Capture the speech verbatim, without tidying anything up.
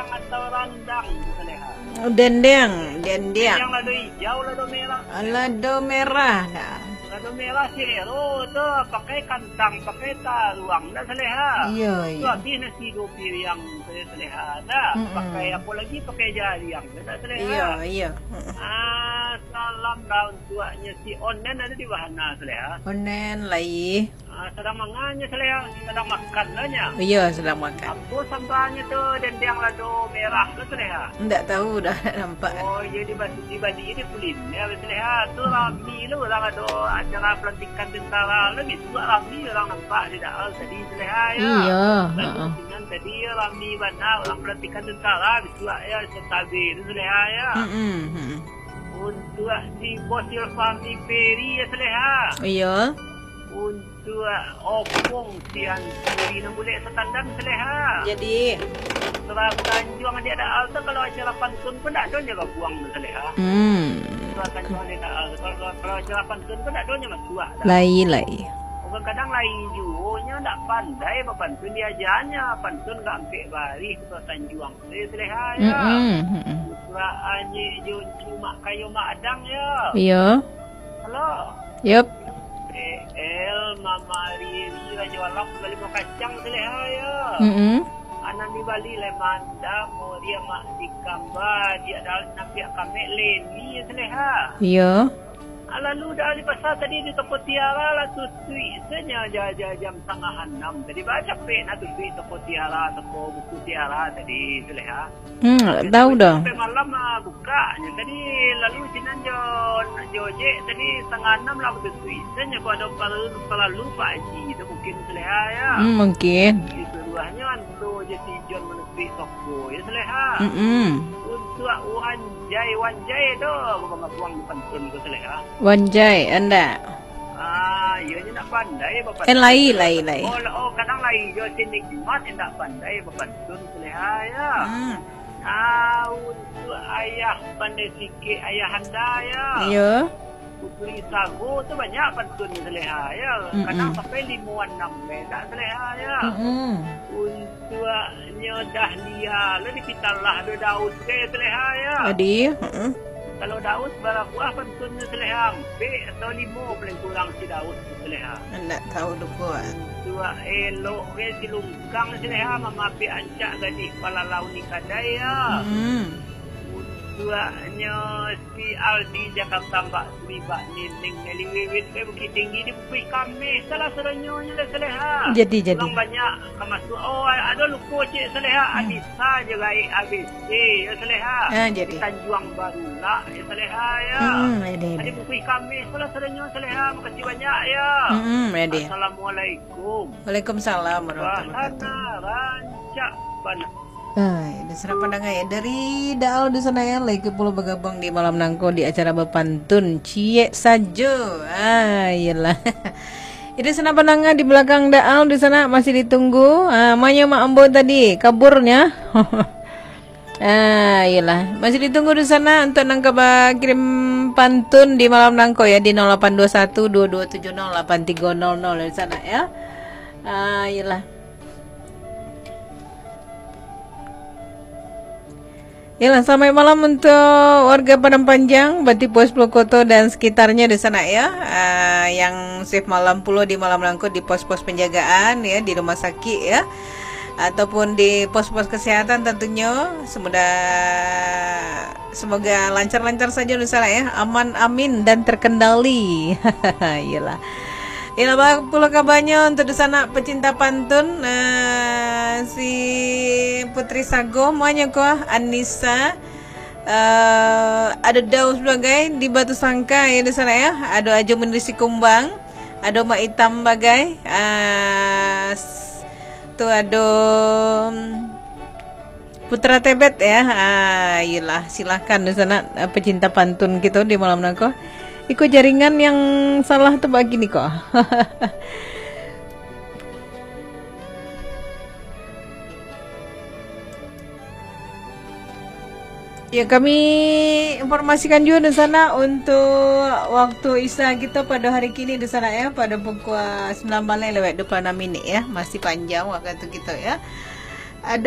Atau randang, Saleha. Dendeng, dendeng. Dendeng lado ijau, lado merah. Lado merah dah. Lado merah sero tu pakai kantang, pakai taruang dah, Saleha. Iyo, iyo. Tu habis nasi duo piriang, Saleha dah. Mm-mm. Pakai apo lagi, pakai jariang dah, Saleha. Iyo, iyo. Mm-mm. Ah, salam lah untuaknyo si Onen ado di bahana, Saleha. Onen lai. Ah, sadang manganyo, Saleha, sadang makan lah nyo. Iyo, sadang makan. Apo sambahnyo tu, dendeng lado merah tu, Saleha? Ndak tahu dah, ndak nampak. Oh, iyo, dibali, dibali di kuliner, Saleha. Tu rami lo urang ado acara pelantikan tentara lo, bisuak rami urang nampak di Daal tadi, Saleha, yo. Iyo, Lalu ha-ha. Sinan tadi yo rami bana urang pelantikan tentara, bisuak yo, satabe tu, Saleha, yo. Mm-mm, mm-mm. Untuak si Bos Ilfami Peri yo, Saleha. Iyo. Untuak Opung si Anturi nan bulek satandan, Saleha. Jadi? Surau Tanjuang di Daal tu, kalau acara pantun pun ndak ado nyo babuang tu, Saleha. Hmm. Surau Tanjuang di Daal tu, kalau, kalau acara pantun pun ndak ado nyo masuak dah. Lai, lai. Kadang-kadang lai juo nyo ndak pandai bapantun, diajanyo pantun ka ampek barih Surau Tanjuang. Eh, Saleha, yo. Mm-mm, mm-mm. Putra Anyek Joncu Mak Kayo Mak Adang, yo. Iyo. Halo. Yup. Eh, El, Mama Riri, Rajo Alam, Bali Mau Kacang, Saleha, yo. Mm-mm. Anak di Bali, Lemanda, Moria, Mak Dikamba, Diak Dalam, Napiak Kamek, Leni, Saleha. Iyo. Ah, lalu dah di pasar tadi di toko Tiara lah tutuik saja ja-, ja-, jam satangah anam. Tadi bacapek nak tutuik toko Tiara, toko buku Tiara tadi, Saleha. Hmm, tahu dah. Sampai malam ah, bukaknyo. Tadi lalu sinan jo, jo ojek tadi satangah anam lah tutuik saja. Kok ado paralu, paralu Pak Haji tu mungkin, Saleha, yo. Hmm, mungkin. Disuruahnyo anto je si John manutuik toko, yo, Saleha. Mm-mm. Untuak Wanjai, Wanjai tu, babuang-babuang di pantun tu, Saleha. Wanjai, andak. Ah, iyo nyo ndak pandai bapantun. Eh, lai, lai, lai. Oh, oh, kadang lai jo si Nikmat ndak pandai bapantun, Saleha, yo. Hmm. Ah, untuak ayah pandai sikik, ayahanda, yo. Iyo. Putri Sago tu banyak pantun, Saleha, yo. Mm-mm. Kadang sampai limo anam, eh, ndak, Saleha, yo. Mm-mm. Untuaknyo Dahlia lo di Pitalah do Daus, eh, Saleha, yo. Jadi, mm-mm. Kalau Daus bara buah pantunnyo, Saleha? Ampek atau limo paling kurang si Daus tu, Saleha? Ndak tahu duko. Untuak elok ke si Lungkang, Saleha, mamapiak rancak gadih palalau ni kadai, yo. Hmm. Untuaknyo si Aldi Jakarta, Mbak Sri, Mbak Nining, Meli Wiwit, eh, Bukittinggi di Bukik Kameh, salah sadonyo nyo, Saleha. Jadi, jadi. Urang banyak ka masuak. Oh, ado luko ciek, Saleha. Hmm. Anissa jo Gaek A B C, yo, Saleha. Ah, jadi. Di Tanjuang Barulah, yo, Saleha, yo. Hmm, jadi. Ado Bukik Kameh, salah sadonyo, Saleha. Makasih banyak, yo. Hmm, jadi. Assalamualaikum. Waalaikumsalam warahmatullahi wabarakatuh. Bahana rancak bana. Hai, dunsanak pandangar, yo, dari Daal dunsanak, yo, lai pulo bagabuang di malam nangko di acara bapantun ciek sajo. Ah, iyolah. Yo, dunsanak pandangar, di balakang Daal dunsanak masih ditunggu. Ah, ma nyo mak ambo tadi, kaburnyo. Ah, iyolah. Masih ditunggu dunsanak untuak nan ka bakirim pantun di malam nangko, yo, di nol lapan dua satu dua dua tujuh nol lapan tiga nol nol dunsanak, yo. Ah, iyolah. Yalah, selamat malam untuk warga Padang Panjang, Batipuah Sepuluh Koto dan sekitarnya di sana, ya. Ah, yang shift malam pulo di malam nangko di pos-pos penjagaan, ya, di rumah sakit, ya, ataupun di pos-pos kesehatan tentunya. Semoga, semoga lancar-lancar saja di sana, ya, aman, amin, dan terkendali. Yalah. Yalah, baa pulo kabanyo untuk dunsanak pecinta pantun, eh, si Putri Sago, ma nyo ko, Anissa, eh, ado Daus bagai di Batusangka, ya, dunsanak, ya. Ado Ajo Munir Sikumbang, ado Mak Itam bagai, ah, s-, tu ado, mm, Putra Tebet, ya. Ah, iyolah, silakan dunsanak, eh, pecinta pantun kito di malam nangko. Iko jaringan yang salah tu bagini ko. Ya, kami informasikan juga dunsanak untuk waktu Isya kito pada hari kini dunsanak, ya, pada pukul sembilan baleh lewat dua puluh enam minit, ya. Masih panjang waktu kito, ya.